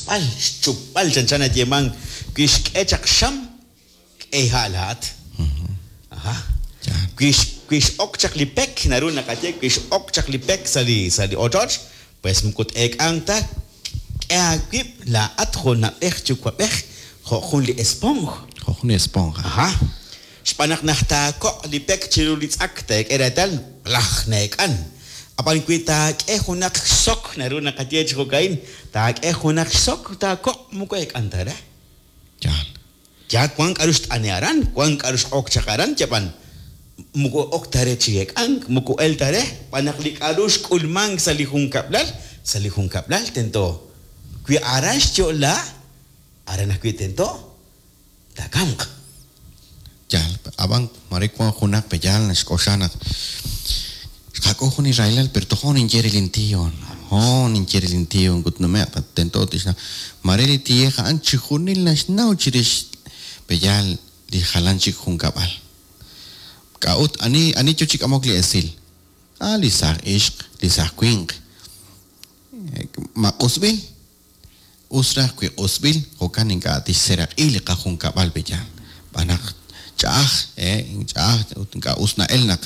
Xk'osb'al, xchupb'al chanchan nayeemank wi xk'e chaq xam, k'e ha' laa'at. Aha. Wi wi x'ok chaq li pek, naru naqaye wi x'ok chaq li pek sa' li sa' li ochoch, pues moko t-eek'anq ta, k'e aawib' laa'at jo' na'b'ej yuwa'b'ej jo' jun li esponj. Jo' jun li esponja. Aha. Xb'aan naq naq taakoq' li pek chiru li tz'ak teek'e reetal laj neek'an. Ab'an wi taak'e junaq xsok, naru naqaye chi jo'ka'in, taak'e junaq xsok, taakoq' moko eek'an ta re. Yaal. Yaal wank k'a'ru xt'ane' aran, wank k'a'ru x'ok chaq aran, yab'an moko ok ta re chi eek'ank, moko el ta re, xb'aan naq li k'a'ru xk'ulmank sa' li junkab'lal, sa' li junkab'lal tento wi aran xyo'la, aran ajwi' tento taakamq. Yaal, ab'an mare wank junaq pe'yaal naxk'oxla naq xqak'ul jun li rahilal, pero tojo' ninye re lin tío, hoon ninye re lin tío ut nume'q tento tixnaw. Mare li tiyej a'an chijunil naxnaw chirix pe'yaal li jalan chik junkab'al. K'a'ut ani ani yo chi k'amok li esil? Ah, li saaj ixq, li saaj winq. Ma q'usb'il? Us raj wi q'usb'il, jo'kan ink'a' tixseeraq'i li qajunkab'al pe'yaal. Xb'aan naq ch'a'aj, ch'a'aj ut ink'a' us na'el naq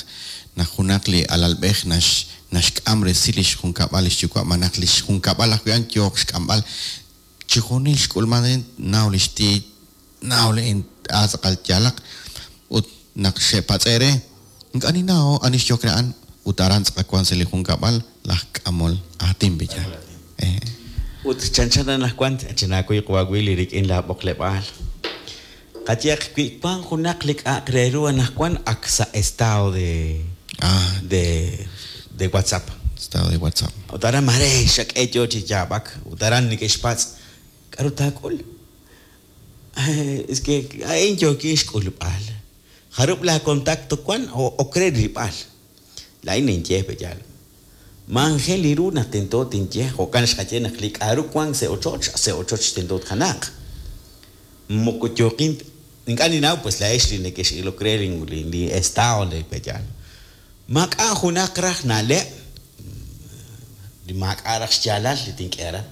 naq junaq li alalb'ej nax naxk'am resil li xjunkab'al li xyuwa' malaj li xjunkab'al ajwi' a'an yooq xk'amb'al. Chijunil xk'ulman a'in, naw li xtiiy, naw li ink'a' tz'aqal yaalaq. Ut naq xe'patz'e' re, ink'a' ninnaw ani xyok re a'an ut aran tz'aqal wank sa' li junkab'al laj k'amol aatin pe'yaal. Ut chanchan anaqwan chinaakuy qawa' Willy rik'in laab'oqleb'aal. Qayehaq wi wank junaq li k'a'aq re ru anaqwan ak sa' estado de de de WhatsApp. Estado de WhatsApp. Ut aran mare xak'e yo chi yaab'ak ut aran neke'xpatz' k'aru taak'ul. Es que a'in yookin xk'ulb'al. Jarub' laacontacto wank o ok re rilb'al. Laa'in ninye pe'yaal. Maanjel ru naq tento tinye, jo'kan xqaye naq li k'a'ru wank sa' ochoch, sa' ochoch tento tkanaaq. Moko yooqin ink'a' ninnaw pues laa'ex li nekex'ilok re li estado le pe'yaal. Maak'a' junaq raj na'leb' li maak'a' raj xyaalal li tink'e aran.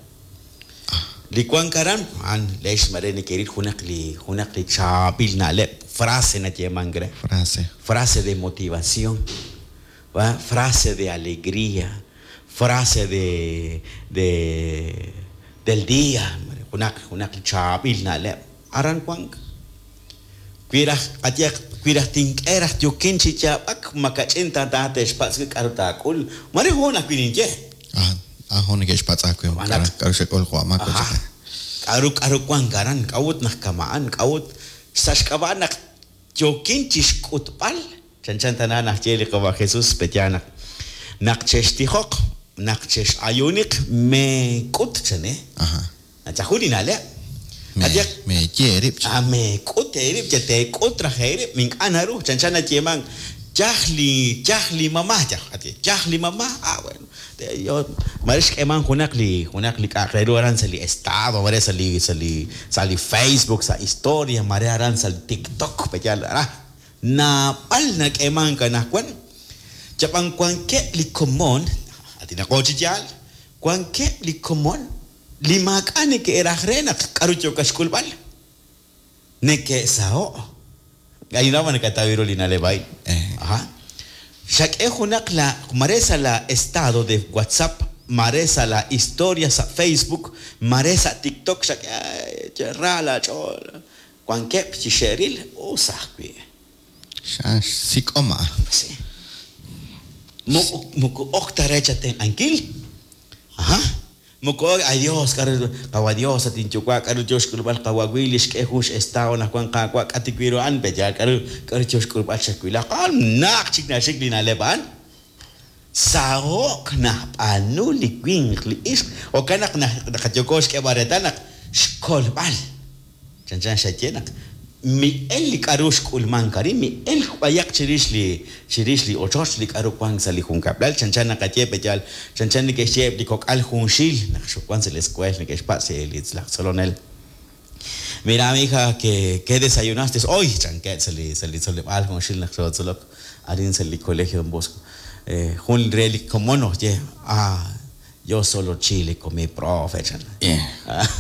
Li wank aran, a'an laa'ex mare nekeril junaq li junaq li chaab'il na'leb', frase nayeemank re. Frase. Frase de motivación, va, frase de alegría, frase de de del día, junaq junaq li chaab'il na'leb' aran wank. Wi raj qayehaq wi raj tink'e raj yookin chi yaab'ak makach'in ta taate'xpatz' wi k'aru taak'ul, mare hoon ajwi' ninye. Ah, ah hoon neke'xpatz' aawe k'aru xak'ul jo' amaak Aha. K'aru k'aru wank aran, k'a'ut naq kama'an, k'a'ut sa' xk'ab'a' naq yookin chi xk'utb'al chanchan tana naxye li qawa' Jesús pe'yaal naq naq chextijoq, naq chex'ayuuniq meek'ut chan eh. Aha. Nachajun li na'leb'. Qayehaq. Meeye eerib' chan. Ah, meek'ut eerib', yal teek'ut raj eerib', ink'a' naru, chanchan nayeemank, yaj li, yaj li mama, yaj, yaj li mama, ah bueno, mare xk'eemank junaq li, junaq li k'a'aq re ru aran sa' li estado, mare sa' li, sa' li, sa' li Facebook, sa' historia, mare aran sa' li TikTok, pe'yaal, ah, naab'al nak'eemank anaqwan, yab'an wankeb' li komon, aatinaqo chi yaal, wankeb' li komon li maak'a' neke'raj re naq k'aru yookat xk'ulb'al, neke'saho'. K'a'innaw ma nakataw ru li na'leb' a'in. Aha. Xak'e junaq la mare sa' la estado de WhatsApp, mare sa' la historia sa' Facebook, mare sa' TikTok xak'e ra laach'ool. Wankeb' chi xe'ril us ajwi'. Xa xsik'om a'an. Sí. Moko moko ok ta re chatenq'ankil. Aha. Moko ok, ay Dios, k'aru qawa' Dios, at inyuwa' k'aru yo xk'ulb'al qawa' Willy xk'e jun x'estado naq wank Qaawa' k'a tikwi ru a'an, pe'yaal k'aru k'aru yo xk'ulb'al chawilaq. A'an najt chik naxik li na'leb' a'an. Saho'k najb'aanu li winq li ixq, jo'kan naq naqayoko xk'eeb'al reetal naq xkolb'al. Chanchan xaye naq mi'el li k'a'ru xk'ulmank arin, mi'elk b'ayaq chirix li chirix li ochoch, li k'a'ru wank sa' li junkab'lal. Chanchan naqaye pe'yaal, chanchan neke'xye eb' li kok'al junxil naq xoowank sa' li escuel neke'xpatz' li laj tzolonel, Mira mija, que qué desayunaste hoy? chankeb' sa' li sa' li tzoleb'aal junxil naq xootzolok arin sa' li Colegio Don Bosco. Jun re li komon oxye, Ah, yo solo chile comí, profe, chan.